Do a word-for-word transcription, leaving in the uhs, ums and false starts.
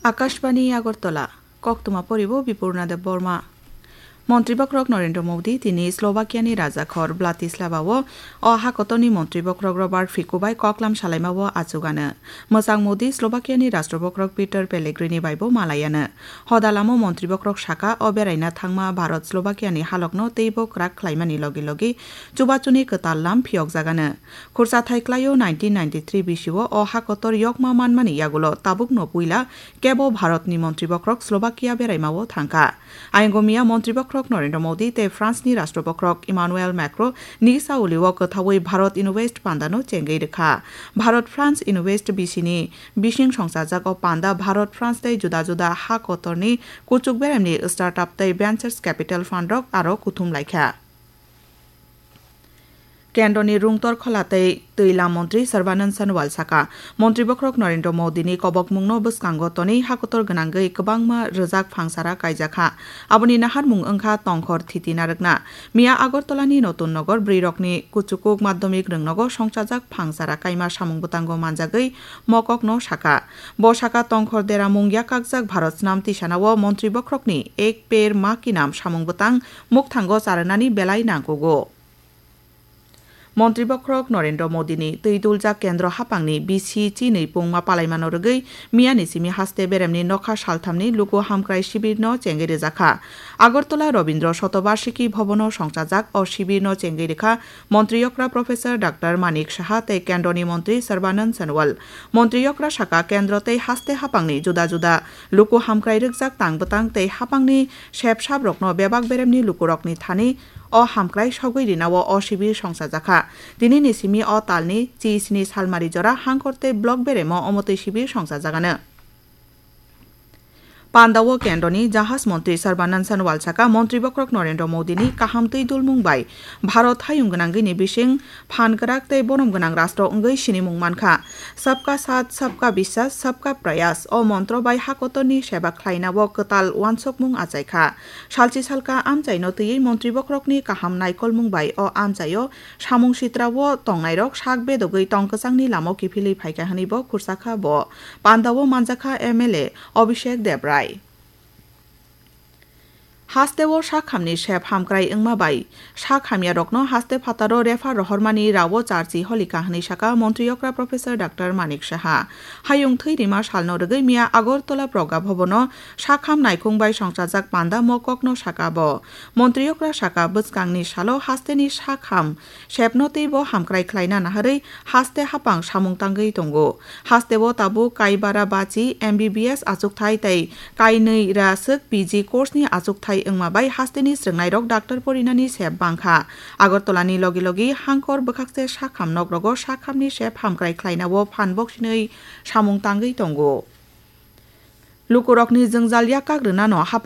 Akashbani Agartala, koktwma poribo Bipurna Debbarma. Montri bokhorok Narendra Modi tini Slovakia ni rajakhor Bratislava o o hakotorni montri bokhorok Robert Fico bai koklam salaima o achugano. Mwchang Modi Slovakia ni rashtra bokhorok Peter Pellegrini bai bo malayano. Hodalamo montri bokhorok saka o beraina thangma Bharat Slovakia ni halokno teibo kwrak khlaimani logi logi chubachuni kwtal lam phiyokjagano. Khursa thai klaio nineteen ninety-three bisio o hakotor yokma manmani yagulo tabukno puila kebo Bharatni montri bokhorok Slovakia beraima o thangkha. Ayang miya montri bokhorok Narendra Modi tei France ni rashtra bokhorok Emmanuel Macron ni sauli o kwthaui Bharat Invest pandano chengwi rwkha. Bharat France Invest bisini bising songchajak o panda Bharat France tei juda juda ha kotorni kuchuk beremni startup tei ventures capital fund rok aro kuthum laikha. Kendroni rungtor khola tei twi lam montri Sarbanand Sonowal saka, montri bokhorok Narendra Modi ni kobokmungno bwskango tonwi hakotor gwnangwi kwbangma rwjak phangsara kaijakha. Aboni naharmung wngkha tongkhor thiti narwkna. Miya Agartala ni Notun Nogor bwrwi rokni kuchukuk madhyamik rwngnogo songchajak phangsara kaima samung bwtango manjagwi mokokno saka. Bo saka tongkhor deramung yakakjak Bharat snam tisanao montri bokhorokni Ek Ped Ma Ki Naam samung bwtang mukthango charwnani belai nangkugo. Montri bokhorok Narendra Modi ni twi duljak kendro haphangni bisi chinwi pungma palaimano rwgwi miyani simi haste beremni nokha salthamni luku hamkrai shibirno chengwi rwjakha. Agartala Rabindra Shatobarshiki Bhavan o songchajak o shibirno chengwi rwkha montri okra Professor Doctor Manik Saha tei kendroni montri Sarbanand Sonowal. Montri okra saka kendro tei haste haphangni juda juda luku hamkrai rwkjak tang bwtang tei haphangni sep sap rokno bebak beremni lukurokni thani o hamkrai sogwi rinao o shibir songchajakha. Tinini simi o talni chi sini salmari jora hangkor tei block beremo omotwi shibir songchajagano. Pandao kendroni jahaj montri Sarbanand Sonowal saka montri bokhorok Narendra Modi ni kaham twi dulmung bai Bharat hayung gwnangwi ni bising phan kwrak tei borom gwnang rastro wngwi sinimung mankha. Sabka Saath, Sabka Biswas, Sabka Prayas o montro bai hakotorni seba khlaina o kwtal uansukmung achaikha. Salchi salka amchaino twiwi montri bokhorokni kaham naikolmung bai o amchaio samung sitra o tongnairok sak bedogwi tong kwchangni lama kiphilwi phaikha hwnwi bo khursakha bo. Pandao manjakha M L A Abhishek Debrai. Hasteo sak hamni sep hamkrai wngma bai sak hamyarokno haste phataro refer rohormani rao charchi holikha hwnwi saka montri okra Professor Doctor Manik Saha. Hayung thwi rima salno rwgwi miya Agartala Pragya Bhavan o sak ham naikhung bai songchajak panda mokokno saka bo. Montri okra saka bwskangni salo hasteni sak ham sepno teibo hamkrai khlaina naharwi haste haphang samung tangwi tongo. Hasteo tabuk Kaibara Bachi M B B S achukthai tei kainwi raswk P G course ni achukthai wngma bai hasteni srwngnairok doctor porinani sep bangkha. Agartala ni logi logi hangkor bwkhakse sakham nokrogo sakhamni sep hamkrai khlainao phan boksinwi samung tangwi tongo. Lukurokni jwngjal yakak rwnano haphang